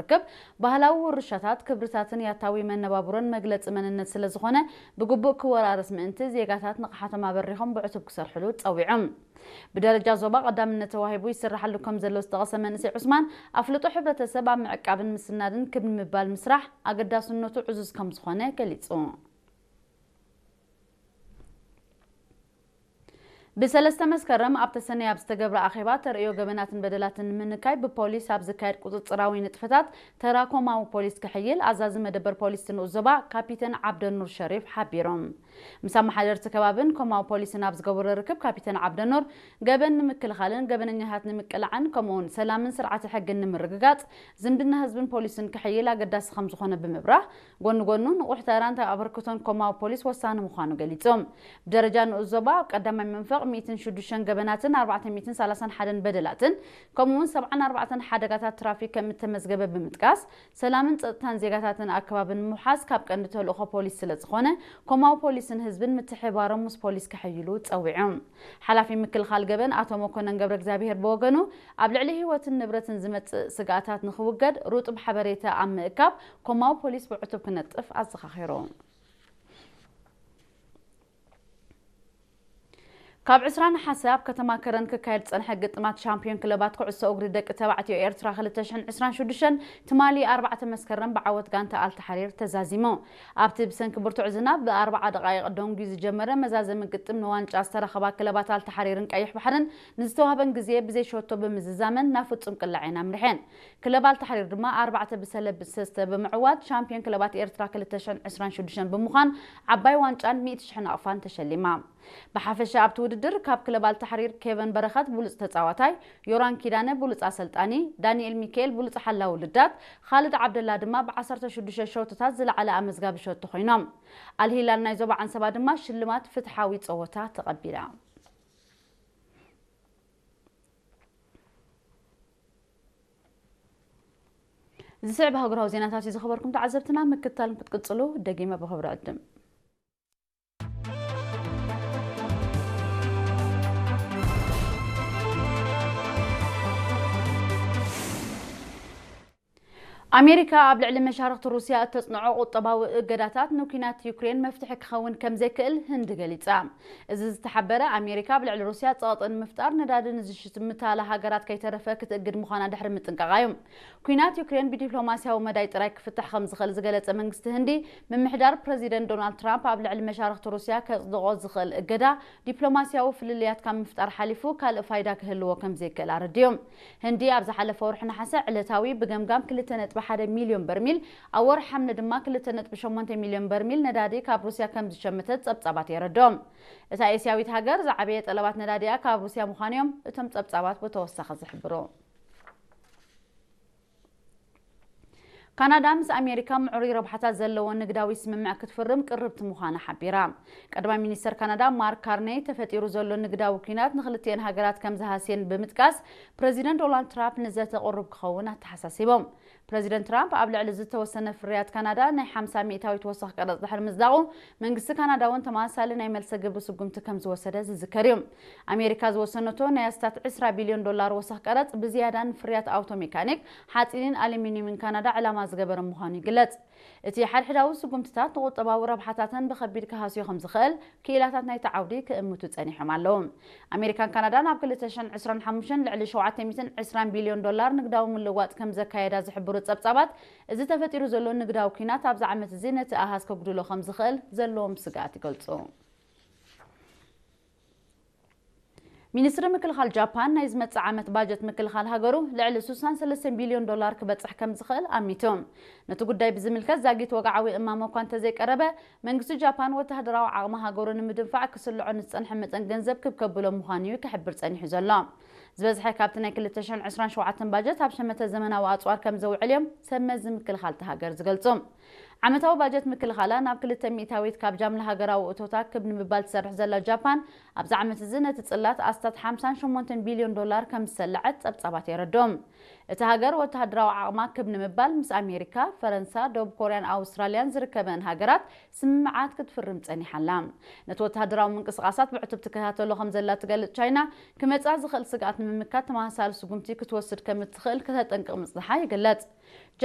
ርክብ ባህላዊ ውርሻታት፣ ክብርታትን ያታዊ መነባብሮን መግለጺ መንነት ስለ ዝኾነ፣ ብግቡእ ክወራረስ ምእንቲ ዜጋታት ንቕሓቶም ኣበሪኾም ብዕቱብ ክሰርሕሉ ጸዊዖም። ብደረጃ ዞባ ቀዳምነት ተዋሂቡ ይስራሓሉ ከም ዘሎ ዝጠቐሰ መንእሰይ ዑስማን፣ ኣፍልጦ ሕብረተሰብ ኣብ ምዕቃብን ምስናድን ክብ ንምባል ምስራሕ ኣገዳስነቱ ዕዙዝ ከም ዝኾነ ገሊጹ። ብሰለስተ መስከረም ኣብ ተሰነይ ኣብ ዝተገብረ ኣኼባ፣ ተርእዮ ገበናትን በደላትን ንምንካይ ብፖሊስ ኣብ ዝካየድ ቁጽጽራዊ ንጥፈታት ተራ ኮማዊ ፖሊስ ክሕይል ኣዛዚ መደበር ፖሊስ ንኡስ ዞባ ካፒተን ዓብደኑር ሸሪፍ ሓቢሮም። ምስ ኣመሓደርቲ ከባብን ኮማዊ ፖሊስን ኣብ ዝገበሮ ርክብ፣ ካፒተን ዓብደኑር፣ ገበን ንምክልኻልን ገበነኛታት ንምቅላዕን ከምኡውን ሰላምን ስርዓተ ሕግን ንምርግጋጽ ዝምድና ህዝብን ፖሊስን ክሕይል ኣገዳሲ ከም ዝኾነ ብምብራህ፣ ጎኒ ጎኑ ንቑሕ ተራን ኣበርክቶን ኮማዊ ፖሊስ ወሳኒ ምዃኑ ገሊጾም። ብደረጃ ንኡስ ዞባ፣ ኣብ ቀዳማይ መንፈቕ ሚእትን ሽዱሽተን ገበናትን ኣርባዕተ ሚእትን ሰላሳን ሓደን በደላትን ከምኡውን ሰብዓን ኣርባዕተን ሓደጋታት ትራፊክ ከም እተመዝገበ ብምጥቃስ፣ ሰላምን ጸጥታን ዜጋታትን ኣከባቢ ንምውሓስ ካብ ቀንዲ ተልእኾ ፖሊስ ስለ ዝኾነ፣ ኮማዊ ፖሊስን ህዝብን ምትሕብባሮም ምስ ፖሊስ ክሕይሉ ጸዊዖም። ሓላፊ ምክልኻል ገበን ኣቶ መኮነን ገብረ እግዚኣብሔር ብወገኑ፣ ኣብ ልዕሊ ህይወትን ንብረትን ዝመጽእ ስግኣታት ንኽውገድ ሩጡብ ሓበሬታ ኣብ ምእካብ ኮማዊ ፖሊስ ብዕቱብ ክነጥፍ ኣዘኻኺሩ። ካብ ዕስራ ነሓሰ ኣብ ከተማ ከረን ክካየድ ዝጸንሐ ግጥማት ሻምፒዮን ክለባት ኩዕሶ እግሪ ደቂ ተባዕትዮ ኤርትራ ክልተ ሽሕን ዕስራን ሽዱሽተን ትማሊ ኣርባዕተ መስከረም ብዓወት ጋንታ ኣልተሓሪር ተዛዚሙ። ኣብቲ ብሰንኪ ብርቱዕ ዝናብ ብኣርባዓ ደቓይቕ ደንጉዩ ዝጀመረ መዛዘሚ ግጥም ንዋንጫ ዝተረኸባ ክለባት ኣልተሓሪርን ቀይሕ ባሕርን ንዝተዋህበን ግዜ ብዘይ ሸቶ ብምዝዛመን ናብ ፍጹም ቅላዕ እየን ኣምሪሐን። ክለብ ኣልተሓሪር ድማ ኣርባዕተ ብሰለስተ ብምዕዋት ሻምፒዮን ክለባት ኤርትራ ክልተ ሽሕን ዕስራን ሽዱሽተን ብምዃን ዓባይ ዋንጫን ሚእቲ ሽሕ ናቕፋን ተሸሊማ። ብሓፈሻ ኣብቲ ውድድር ካብ ክለብ ኣልተሓሪር ኬቨን በረኸት ብሉጽ ተጻዋታይ፣ ዮራን ኪዳነ ብሉጽ ኣሰልጣኒ፣ ዳንኤል ሚካኤል ብሉጽ ሓላዊ ልዳት፣ ኻልድ ዓብደላ ድማ ብዓሰርተ ሽዱሽተ ሸቶታት ዝለዓለ ኣመዝጋቢ ሸቶ ኮይኖም። ኣልሂላል ናይ ዞባ ዓንሰባ ድማ ሽልማት ፍትሓዊ ጸወታ ተቐቢላ። ዝስዕብ ኣህጉራዊ ዜናታት እዩ። ዝኸበርኩም ተዓዘብትና፣ ምክትታል ክትቅጽሉ ደጊመ ብኽብሪ ዕድም። ኣሜሪካ ኣብ ልዕሊ መሻርኽቲ ሩስያ እተጽንዖ ቁጠባዊ እገዳታት ንኲናት ዩክሬን መፍትሒ ክኸውን ከም ዘይክእል ህንዲ ገሊጻ። እዚ ዝተሓበረ፣ ኣሜሪካ ኣብ ልዕሊ ሩስያ ጸቕጢ ንምፍጣር ነዳዲ ንዝሽምታላ ሃገራት ከይተረፈ ክትእግድ ምዃና ድሕሪ ምጥንቃቓ እዩ። ኲናት ዩክሬን ብዲፕሎማስያዊ መዳይ ጥራይ ክፍታሕ ከም ዝኽእል ዝገለጸ መንግስቲ ህንዲ፣ ምምሕዳር ፕረዚደንት ዶናልድ ትራምፕ ኣብ ልዕሊ መሻርኽቲ ሩስያ ከጽድቖ ዝኽእል እገዳ፣ ዲፕሎማስያዊ ፍልልያት ካብ ምፍጣር ሓሊፉ ካልእ ፋይዳ ክህልዎ ከም ዘይክእል ኣረዲኡ። ህንዲ ኣብ ዝሓለፈ ወርሒ ነሓሰ ዕለታዊ ብገምጋም ክልተ ነጥቢ ሓደ ሚልዮን በርሚል፣ ኣብ ወርሒ ሓምለ ድማ ክልተ ነጥቢ ሸሞንተ ሚልዮን በርሚል ነዳዲ ካብ ሩስያ ከም ዝሸመተት ጸብጻባት የረድኦም። እታ ኤስያዊት ሃገር ዝዓበየ ጠለባት ነዳዲኣ ካብ ሩስያ ምዃኑ እዮም እቶም ጸብጻባት ብተወሳኺ ዝሕብሩ። ካናዳ ምስ ኣሜሪካ ምዕሩይ ረብሓታት ዘለዎ ንግዳዊ ስምምዕ ክትፍርም ቅርብቲ ምዃና ሓቢራ። ቀዳማይ ሚኒስተር ካናዳ ማርክ ካርኔይ፣ ተፈጢሩ ዘሎ ንግዳዊ ኲናት ንክልቲኤን ሃገራት ከም ዝሃስየን ብምጥቃስ፣ ፕረዚደንት ዶናልድ ትራምፕ ንዘተ ቅሩብ ክኸውን ኣተሓሳሲቦም። ፕረዚደንት ትራምፕ ኣብ ልዕሊ ዝተወሰነ ፍርያት ካናዳ ናይ ሓምሳ ሚእታዊት ወሰኽ ቀረጽ ድሕሪ ምጽዳቑ፣ መንግስቲ ካናዳ እውን ተመሳሳሊ ናይ መልሰ ግብሪ ስጉምቲ ከም ዝወሰደ ዝዝከር እዩ። ኣሜሪካ ዝወሰነቶ ናይ ኣስታት ዕስራ ቢልዮን ዶላር ወሰኽ ቀረጽ ብዝያዳ ንፍርያት ኣውቶ ሜካኒክ፣ ሓጺንን ኣሉሚንየምን ካናዳ ዕላማ ዝገበረ ምዃኑ ይግለጽ። እቲ ሓድሕዳዊ ስጉምትታት ንቁጠባዊ ረብሓታተን ብኸቢድ ክሃስዮ ከም ዝኽእል ክኢላታት ናይቲ ዓውዲ ክእምቱ ጸኒሖም ኣለዉ። ኣሜሪካን ካናዳን ኣብ ክልተ ሽሕን ዕስራን ሓሙሽተን ልዕሊ ሸውዓተ ሚእትን ዕስራን ቢልዮን ዶላር ንግዳዊ ምልውዋጥ ከም ዘካየዳ ዝሕብሩ ጸብጻባት፣ እዚ ተፈጢሩ ዘሎ ንግዳዊ ኲናት ኣብዚ ዓመት እዚ ነቲ ኣሃዝ ከጉድሎ ከም ዝኽእል ዘለዎም ስግኣት ይገልጹ። ሚኒስትሪ ምክልኻል ጃፓን ናይ ዝመጽእ ዓመት ባጀት ምክልኻል ሃገሩ ልዕሊ ስሳን ሰለስተን ቢልዮን ዶላር ክበጽሕ ከም ዝኽእል ኣሚቱ። ነቲ ጉዳይ ብዝምልከት ዛጊት ወግዓዊ እማመ እኳ እንተዘይቀረበ፣ መንግስቲ ጃፓን ወተሃደራዊ ዓቕሚ ሃገሩ ንምድንፋዕ ክስልዖ ንዝጸንሐ መጠን ገንዘብ ክብ ከብሎ ምዃኑ እዩ ክሕብር ጸኒሑ ዘሎ። ዝበዝሐ ካብቲ ናይ ክልተ ሽሕን ዕስራን ሸውዓተን ባጀት ኣብ ሸመተ ዘመናዊ ኣጽዋር ከም ዘውዕል እዮም ሰብ መዚ ምክልኻል እታ ሃገር ዝገልጹ። ዓመታዊ ባጀት ምክልኻላ ናብ ክልተ ሚእታዊት ካብ ጃምላ ሃገራዊ እቶታ ክብ ንምባል ትሰርሕ ዘላ ጃፓን፣ ኣብዚ ዓመት እዚ ነቲ ጽላት ኣስታት ሓምሳን ሸሞንተን ቢልዮን ዶላር ከም ዝሰለዐት ጸብጻባት የረድኦም። እታ ሃገር ወተሃደራዊ ዓቕማ ክብ ንምባል ምስ ኣሜሪካ፣ ፈረንሳ፣ ደቡብ ኮርያን ኣውስትራልያን ዝርከበን ሃገራት ስምምዓት ክትፍርም ጸኒሓ ኣላ። ነቲ ወተሃደራዊ ምንቅስቓሳት ብዕቱብ ትከታተሎ ከም ዘላ ትገልጽ ቻይና፣ ክመጽኣ ዝኽእል ስግኣት ንምምካት ተመሳሳሊ ስጉምቲ ክትወስድ ከም እትኽእል ከተጠንቅቕ ምጽንሓ ይግለጽ።